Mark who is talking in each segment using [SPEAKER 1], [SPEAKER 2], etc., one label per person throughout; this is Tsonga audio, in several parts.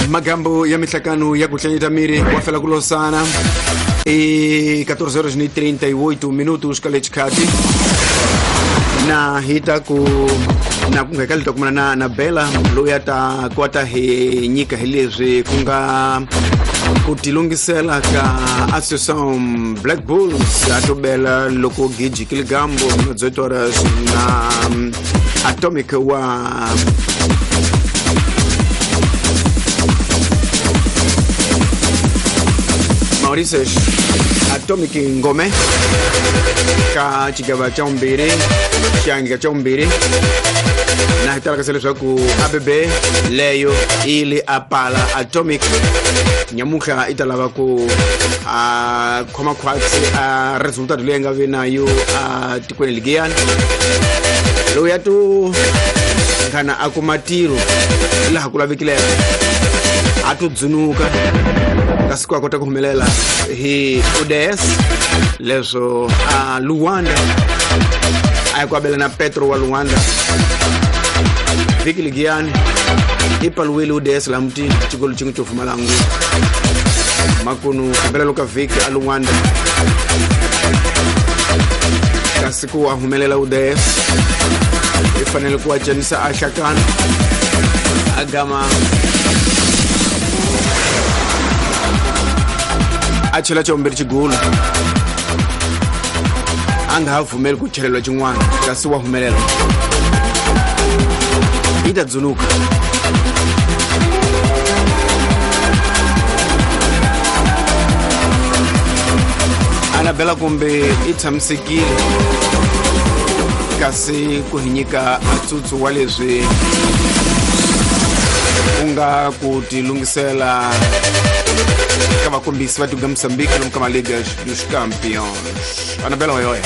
[SPEAKER 1] Magambo ya mihlakano ya ku hlanyeta miri wa fela ku losana i 14:38 minutos ka le xikhati na hi ta ku na ku ngheka leta kumana na na Bella loyi a ta kota hi nyika hi leswi ku nga ku tilungisela ka Associação Black Bulls a to bela loko giji kiligambo na 18 horas na Atomic wa Mauritius Atomic Ngome ka xigava xa vumbirhi xiangika xa vumbirhi na hi talakasa leswaku ABB leyo yi le a pala Atomic nyamutlha i ta lava ku a khoma khwatsi a resultado leyi nga vi na yo a tikweni ligiyani lowu ya to nghana a kuma tiro laha ku lavekileke a to dzunuka kasi ku a kota ku humelela hi ODS leswo a Luanda a ya ku abela na Petro wa Luanda vhiki ligiyani i paluwile ODS laha mutini xikolo xin'we xo pfumala ngu makunu kumbela ka vhiki a Luanda kasi ku a humelela ODS i fanele ku a cinisa a hlakana a gama a chela xa vumbirhi xigulu a nga ha pfumeli ku cheleriwa xin'wana kasi wa humelela yi ta dzuluka. Anabela kumbe i tshamisekile kasi ku hi nyika ntsutsu wa leswi ku nga ku tilungisela ka vakombisi va tiko ya Moçambique lomu ka Maliga dos Campeões. Anabela hoyoya.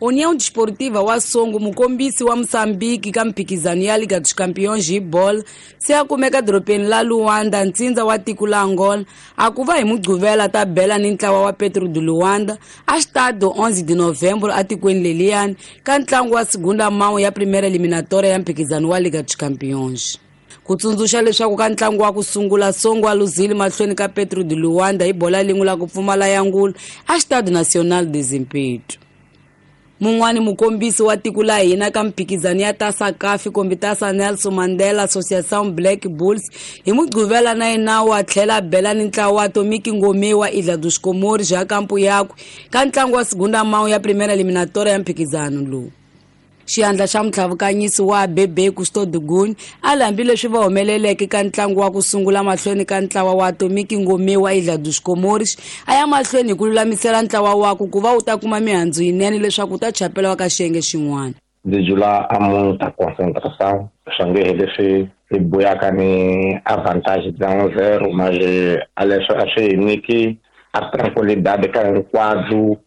[SPEAKER 2] União Desportiva wa Songo mukombisi wa Moçambique ka mphikizano ya Liga dos Campeões hi bolo se a kumeka dorobeni la Luanda ntsindza wa tiko la Angola a ku va hi Mugqivela ta bela ni ntlawa wa Petro de Luanda a Estádio 11 de Novembro atikweni leliyani ka ntlangu wa segunda mão ya primeira eliminatória ya mphikizano wa Liga dos Campeões. Ku tsundzuxa leswaku ka ntlangu wa ku sungula Songo a luzile mahlweni ka Petro de Luanda hi bola lin'we la ku pfumala ya ngulu a Estádio Nacional de Zimpeto. Mun'wani mukombisi wa tiko la hina ka mphikizano ya Taça CAF kumbe Taça Nelson Mandela Associação Black Bulls hi Mugqivela na yena wa tlhela bela ni ntlawa wa Atomic Ngome wa Ilha dos Comores ja kampu yakwe ka ntlangu wa segunda mão ya primeira eliminatória ya mphikizano lowu. Xiyandla xa mutlhavukanyisi wa Bebe Custo Guni a hambileswi va humeleleke ka ntlangu wa ku sungula mahlweni ka ntlawa wa Atomic Ngome wa Ilha dos Comores a ya mahlweni hi ku lulamisela ntlawa wakwe ku va wu ta kuma mihandzu yinene leswaku wu ta chapela ka xiyenge xin'wana.
[SPEAKER 3] Ndzi jula a muta concentração swa nge hi leswi hi buyaka ni avantage bya 1-0 manje a leswi a swi hi nyiki a tranquilidade ka hinkwabyo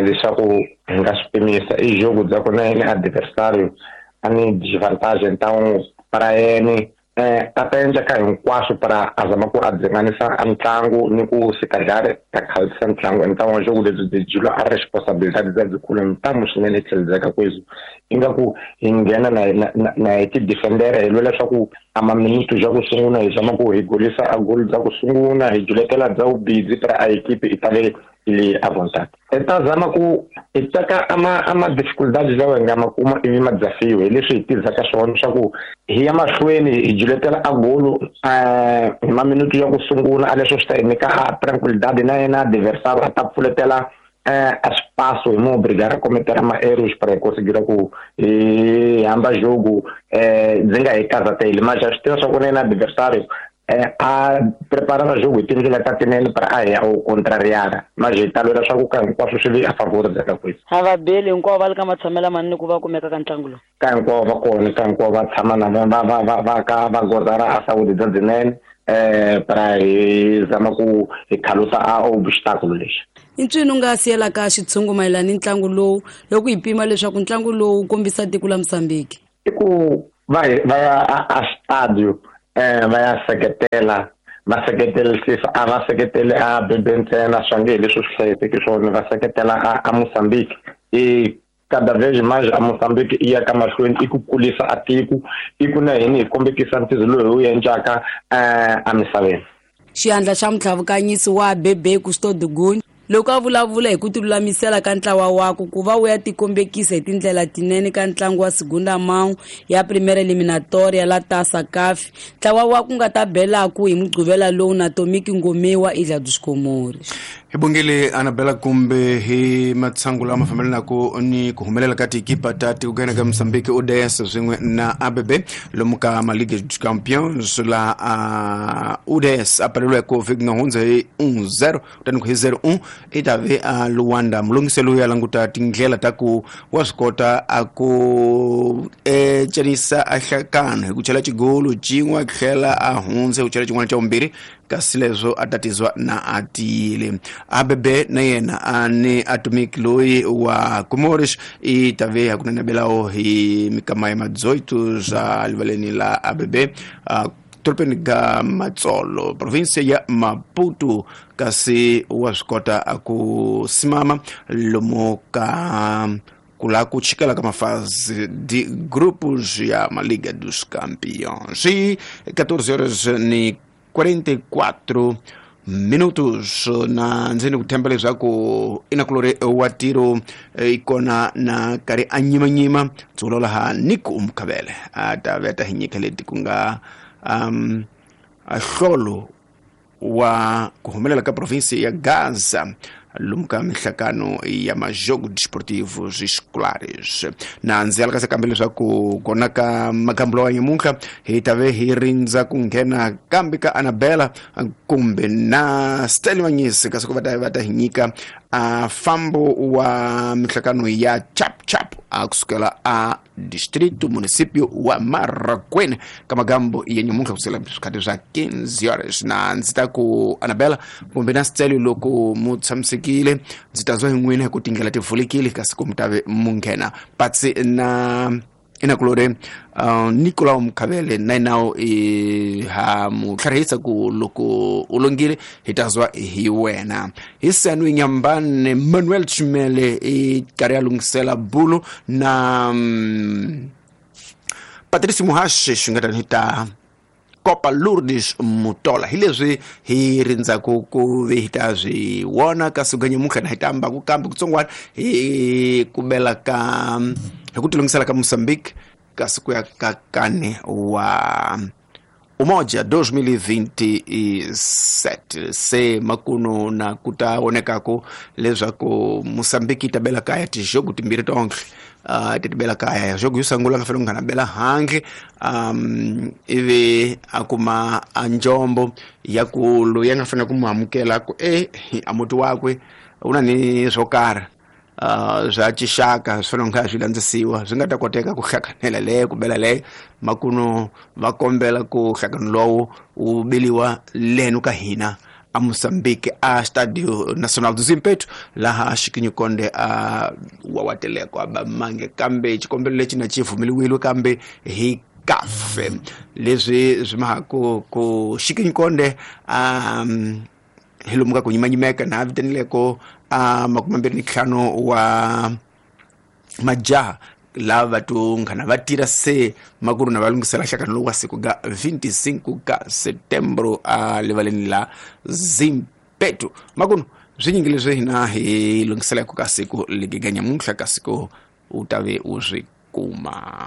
[SPEAKER 3] leswaku hi nga swi pimisa i jogo bya ku na yena adversário a ni desvantagem então para yena a ta endla ka hinkwaswo para a zama ku a dzinganisa a ntlangu ni ku se calhar ta khalisa ntlangu então jogo lebyi byi jula a responsabilidade bya byikulu ntamu swinene tlheledzeka kwezwi ingaku hi nghena na hi ti-defendera hi lwela swa ku a maminutu bya ku sungula hi zama ku hi golisa a golo bya ku sungula hi juletela bya vubidzi para a equipe i tale ile à vontade. Então zama ku hi teka ama dificuldades lawa hi nga ma kuma ivi ma desafio hi leswi hi tirhisaka swona swa ku hi ya mahlweni hi juletela a golo hi maminutu ya ku sungula a leswo swi ta hi nyika a tranquilidade na yena adversário a ta pfuletela a espaço hi mo obrigar a cometer ma erros para conseguir ku hi hamba jogo ndzi nga hi karhateli mas swi tiva swa ku na yena adversário a preparar jogo hi tindlela ta tinene para a ya o contrariar mas hi ta lwela swa ku ka hinkwaswo swi vi a favor bya ka kwesi.
[SPEAKER 2] A va beli hinkwavo va le ka matshamelo manene ku va kumeka ka ntlangu lowu
[SPEAKER 3] ka hinkwavo va kona ka hinkwavo va tshama na va ka va gozara a saúde bya byinene para hi zama ku hi khalusa a obstáculo lexi.
[SPEAKER 2] I ncini u nga siyelaka xitshungu mayelana ni ntlangu lowu loko hi pima leswaku ntlangu lowu wu kombisa tiko la Moçambique?
[SPEAKER 3] I ku va ya a stadio va ya seketela va seketelisisa a va seketele a Bebe ntsena swa nge hi leswi swi hlayiseke swona va seketela a Moçambique i Cada vez mais a Moçambique i ya ka mahlweni i ku kulisa a tiko i ku na hini hi kombekisa ntirho lowu hi wu endlaka emisaveni.
[SPEAKER 2] Xiyandla xa mutlhavukanyisi wa Bebe Custode Gun loko a vulavula hi ku tilulamisela ka ntlawa wakwe ku va wu ya tikombekisa hi tindlela tinene ka ntlangu wa Segunda Mão ya Primeira Eliminatória la Taça CAF, ntlawa wa ku nga ta belaku hi Mugqivela lowu na Tomiki Ngomewa Ilha dos Comores.
[SPEAKER 1] Hi bongile Anabela kumbe hi matshangu lama fambelanaka ni ku humelela ka tikipa ta tikugena ka Mozambique UDS swin'we na ABB lomu ka Maliga dos Campeões la UDS a paleliweke vhiki nga hundza hi 1-0 kutani ku hi 0-1 i ta ve a Luanda. Mulungisi loyi a languta tindlela ta ku wa swi kota a ku cenisa a hlakano hi ku chela xigolo xin'we a tlhela a hundza hi ku chela xin'wana xa vumbirhi, kasi leswo a tatizwa na a tiyile. ABB na yena a ni Atomic loyi wa Comores i ta ve hakunene belawo hi mikama ya madzoito swa livaleni la ABB dorobeni ga Matsolo, provinsia ya Maputo, kasi wa swi kota a ku simama lomu ka kula ku chikela ka mafase de grupos ya Maliga dos Campeões. E 14 horas ni 44 minutos na ndzeni ku themba leswaku i na kulori wa tiro i kona na karhi a nyimanyima ndzi vulavula ha Nico Mkhavele a ta ve ta hi nyika leti ku nga hlolo wa ku humelela ka provinsi ya Gaza lomu ka mihlakano ya majogo desportivos escolares. Na ndzi alakasa kambe leswaku kona ka magambo lawa nyamuntlha hi ta ve hi rindza ku nghena kambe ka Anabela kumbe na Stanley Manyisi kasi ku va ta hi nyika a fambo wa mihlakano ya chap chap a kusukela a distrito município wa Marracuene ka magambo ya nyamuntlha kusukela swikhati swa 15 horas. Na ndzi ta ku Anabela kumbe na Stanley loko mu tshamisekile ndzi ta zwa hi n'wina hi ku tindlela ti pfulekile kasi ku mi ta ve mu nghena patsi na inakulore Nicolau Mkhavele na yena i ha mu tlharihisa ku loko u longile hi ta zwa hi wena. Hi Sanwi Nyambane Manuel Chimele i karhi a lunghisela bulu na Patrice Muhashe xi nga tani ta Copa Lourdes Mutola. Hi leswi hi rindzaku ku ve hi ta swi vona ka siku nyamuntlha na hi ta ambaku kambe kutsongwana hi ku bela ka hi ku tilungisela ka Mozambique ka siku ya ka kane wa Umoja 2027 se makuno na ku ta vonekaku leswaku Mozambique yi ta bela kaya tijogo timbirhi tonke ti bela kaya jogo yo sungula nga fanele ku nghana bela handle ivi a kuma a njombo ya ku loyi a nga fanele ku mu amukela ku a muti wakwe u na ni swo karhi swa xixaka swi fanele kha swi landzisiwa swi nga ta koteka ku hlakanela leyo ku bela leyo makuno va kombela ku hlakano lowu wu beliwa leno ka hina a Mozambique a Stadio Nacional do Zimpeto laha Xikinyo Konde a wawateleko a bamange kambe xikombelo lexi na xi vumeliwile kambe hi CAF leswi swi mahaku ku Xikinyo Konde a hi lomu ka ku nyimanyimeka na vitanileko a 25 wa majaha lava tunghana va tirha se makuru na va lunghisela hlakano lowu wa siku ga 25 ka Setembro a livaleni la Zimpeto. Makunu swi nyingi leswi hina hi lunghiselaka ka siku ligi ga nyamuntlha ka siku u ta ve u swi kuma.